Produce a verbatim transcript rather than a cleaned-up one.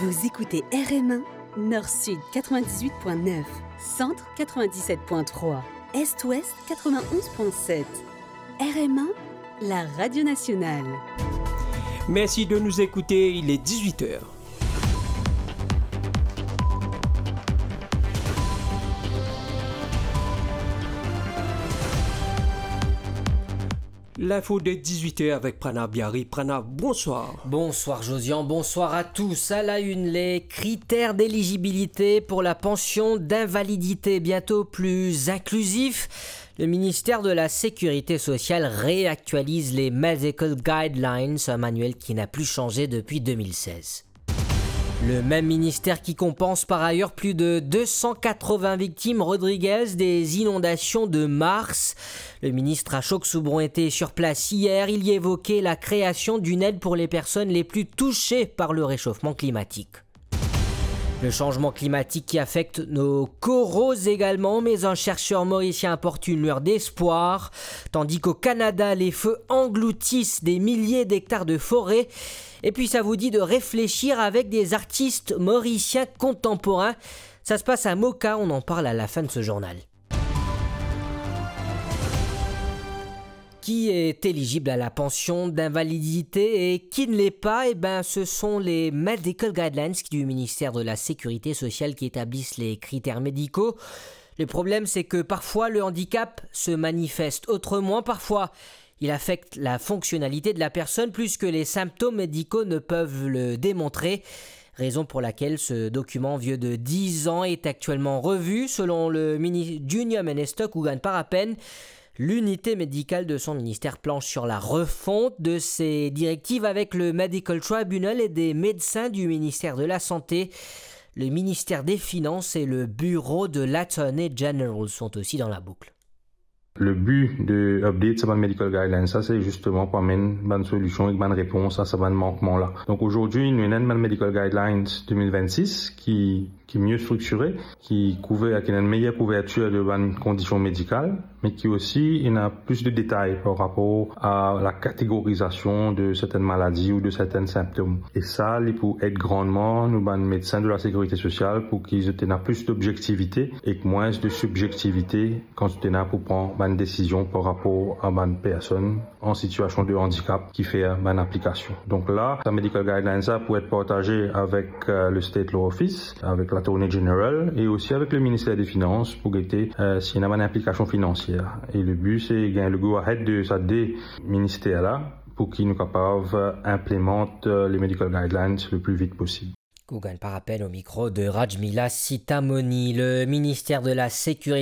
Vous écoutez R M un, Nord-Sud quatre-vingt-dix-huit point neuf, Centre quatre-vingt-dix-sept point trois, Est-Ouest quatre-vingt-onze point sept. R M un, la radio nationale. Merci de nous écouter, il est dix-huit heures. L'info de dix-huit heures avec Pranav Biari. Pranav, bonsoir. Bonsoir Josian, bonsoir à tous. À la une, les critères d'éligibilité pour la pension d'invalidité, bientôt plus inclusifs. Le ministère de la Sécurité sociale réactualise les Medical Guidelines, un manuel qui n'a plus changé depuis deux mille seize. Le même ministère qui compense par ailleurs plus de deux cent quatre-vingts victimes rodriguaises des inondations de mars. Le ministre Ashok Soubron était sur place hier. Il y évoquait la création d'une aide pour les personnes les plus touchées par le réchauffement climatique. Le changement climatique qui affecte nos coraux également, mais un chercheur mauricien apporte une lueur d'espoir. Tandis qu'au Canada, les feux engloutissent des milliers d'hectares de forêt, et puis ça vous dit de réfléchir avec des artistes mauriciens contemporains. Ça se passe à Moka, on en parle à la fin de ce journal. Qui est éligible à la pension d'invalidité et qui ne l'est pas ? Eh ben, ce sont les Medical Guidelines du ministère de la Sécurité sociale qui établissent les critères médicaux. Le problème, c'est que parfois, le handicap se manifeste autrement. Parfois, il affecte la fonctionnalité de la personne plus que les symptômes médicaux ne peuvent le démontrer. Raison pour laquelle ce document vieux de dix ans est actuellement revu. Selon le mini-, Junior Minister Kugan Parapen, l'unité médicale de son ministère planche sur la refonte de ses directives avec le Medical Tribunal et des médecins du ministère de la Santé. Le ministère des Finances et le bureau de l'Attorney General sont aussi dans la boucle. Le bi de update sa bann medical guidelines sa, se zisteman pou amenn bann solision ek bann repons a sa bann mankman la. Donk, azordi, nou ena enn bann medical guidelines de mil vennsis ki, ki mie striktire, ki kouver, ki ena enn meyer kouvertir de bann kondision medikal, me ki osi ena plis de detay par rapor a la kategorizasion de sertenn maladi ou de sertenn sinptom. E sa, li pou ed grandman nou bann medsin de la sekirite sosial pou ki zot ena plis d'obzektivite ek mwins de sibzektivite kan zot ena pou pran bann desizion par rapor a bann personn an sitiasion de andikap ki fer bann aplikasion. Donk la, sa medical guidelines sa pou et partaze avek, euh, le State Law Office, avek l'Attorney General e osi avek le Minister de Finans pou gete, euh, si ena bann inplikasion finansier. E le bi, se gagn le go ahead de sa de minister la pou ki nou kapav, euh, inplimant, euh, le medical guidelines le pli vit posib. Kugan Parapen au micro de Rajmila Sitamoni. Le ministère de la Sécurité